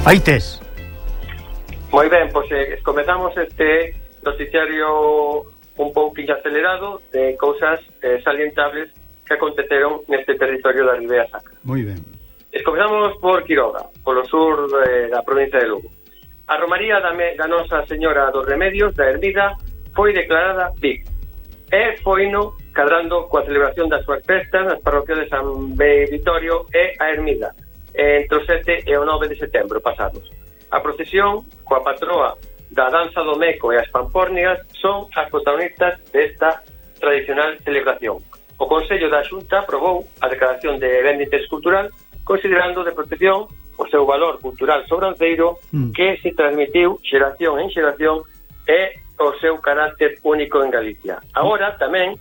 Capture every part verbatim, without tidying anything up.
Faites. Moi ben, pois eh, comezamos este noticiario un pouquinho acelerado de cousas eh, salientables que aconteceron neste territorio da Ribera Sacra. Moi ben. Comezamos por Quiroga, polo sur eh, da provincia de Lugo. A Romaría da, me, da Nosa Señora dos Remedios da Ermida foi declarada V I C e foino cadrando coa celebración das súas festas nas parroquias de San Vitorio e a Ermida entre o sete e o nove de setembro pasados. A procesión coa patroa da danza do Meco e as Pampórnigas son as protagonistas desta tradicional celebración. O Consello da Xunta aprobou a declaración de ben de interés cultural considerando de protección o seu valor cultural sobranceiro mm. que se transmitiu xeración en xeración e o seu carácter único en Galicia. Agora tamén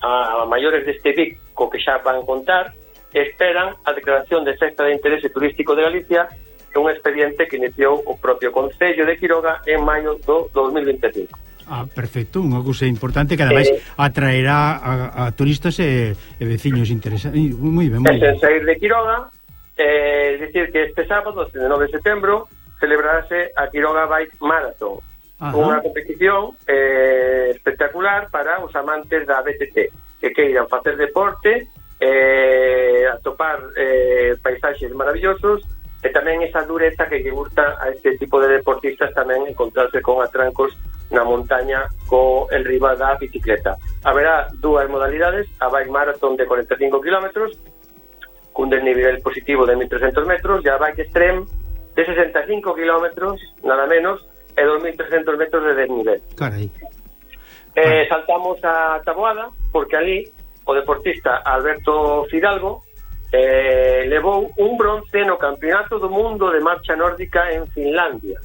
a maiores deste V I C co que xa van contar esperan a declaración de Festa de Interese Turístico de Galicia, un expediente que iniciou o propio Concello de Quiroga en maio do dos mil vinte e cinco. Ah, perfecto, unha cousa importante que ademais eh, atraerá a, a turistas e, e veciños interesados. Moi ben, moi ben. Sen sair de Quiroga, eh, dicir que este sábado, nove de setembro, celebrarase a Quiroga Bike Marathon, Ajá. unha competición eh, espectacular para os amantes da B T T, que queiran facer deporte, eh, atopar eh, paisaxes maravillosos, e tamén esa dureza que lle gusta a este tipo de deportistas tamén encontrarse con atrancos na montaña co el riba da bicicleta. Haberá dúas modalidades, a bike marathon de cuarenta e cinco kilómetros cun desnivel positivo de mil trescentos metros e a bike extreme de sesenta e cinco kilómetros, nada menos, e dos mil trescentos metros de desnivel. Carai. Eh, saltamos a Taboada, porque ali o deportista Alberto Fidalgo Eh, levou un bronce no Campeonato do Mundo de Marcha Nórdica en Finlandia.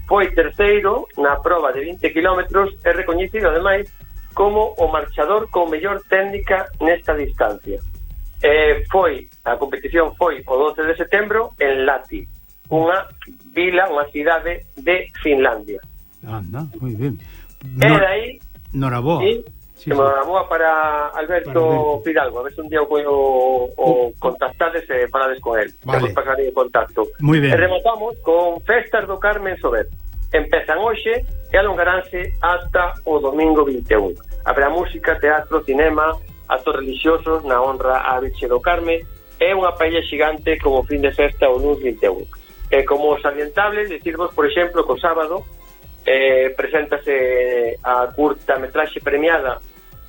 Foi terceiro na proba de vinte kilómetros e recoñecido ademais como o marchador con mellor técnica nesta distancia. Eh, foi, a competición foi o doce de setembro en Lahti, unha vila, unha cidade de Finlandia. Anda, moi ben. E dai Noraboa. Sí, Sí, que me boa para Alberto, para Alberto Fidalgo, a ver se un día o, o, o contactades e falades con él. Vale. Temos pasar en contacto. Muy ben. E rematamos con Festas do Carmen Sober. Empezan hoxe e alongaránse hasta o domingo vinte e un. Haberá música, teatro, cinema, actos religiosos na honra á Virxe do Carmen e unha paella xigante como fin de festa o luns vinte e un. E como salientable, decirvos, por exemplo, que o sábado eh, preséntase a curta metraxe premiada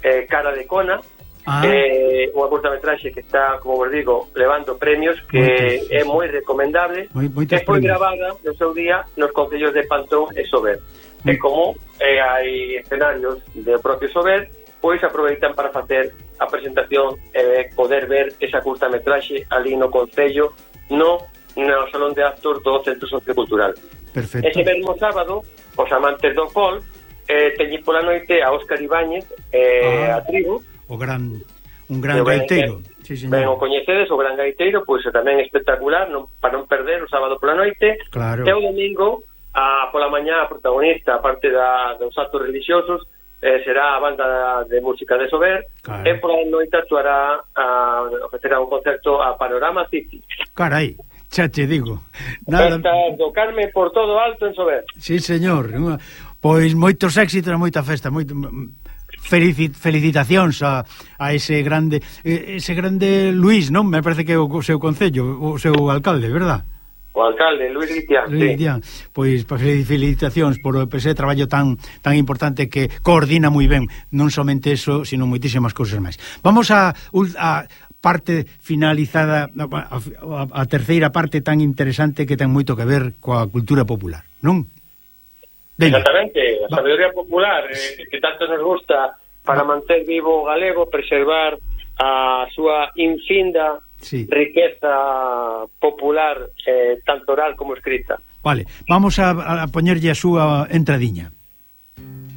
Eh, Cara de Cona, ah. eh, unha curtametraxe que está, como vos digo, levando premios, que Moitos, é moi recomendable, moi, que foi gravada no seu día nos concellos de Pantón e Sober. Mm. E como eh, hai escenarios do propio Sober, pois aproveitan para facer a presentación e eh, poder ver esa curtametraxe ali no concello, no, no Salón de Actos do Centro Sociocultural. Perfecto. Ese mesmo sábado, os amantes do folk Eh, teñi pola noite a Óscar Ibáñez eh, ah, a tribu, o gran un gran gaiteiro, sí, ben o coñecedes, o gran gaiteiro, pois tamén espectacular, non, para non perder o sábado pola noite. Claro. E o domingo a pola mañá a protagonista, aparte da, dos actos religiosos, eh, será a banda de música de Sober, claro. E pola noite actuará a ofrecerá un concerto a Panorama City. Carai, xa te digo. Nada... Festas do Carmen por todo alto en Sober. Sí, señor. Pois moitos éxitos e moita festa, moito felicit, felicitacións a, a ese grande ese grande Luís, non? Me parece que é o seu concello, o seu alcalde, verdad? O alcalde, Luís Guitián, Luís Guitián. Sí. Pois felicitacións por ese traballo tan tan importante que coordina moi ben, non somente eso, sino moitísimas cousas máis. Vamos a, a parte finalizada, a, a, a terceira parte tan interesante que ten moito que ver coa cultura popular, non? Venga. Exactamente, a sabedoría popular eh, que tanto nos gusta para manter vivo o galego, preservar a súa infinda sí. riqueza popular, eh, tanto oral como escrita. Vale, vamos a, a poñerlle a súa entradiña.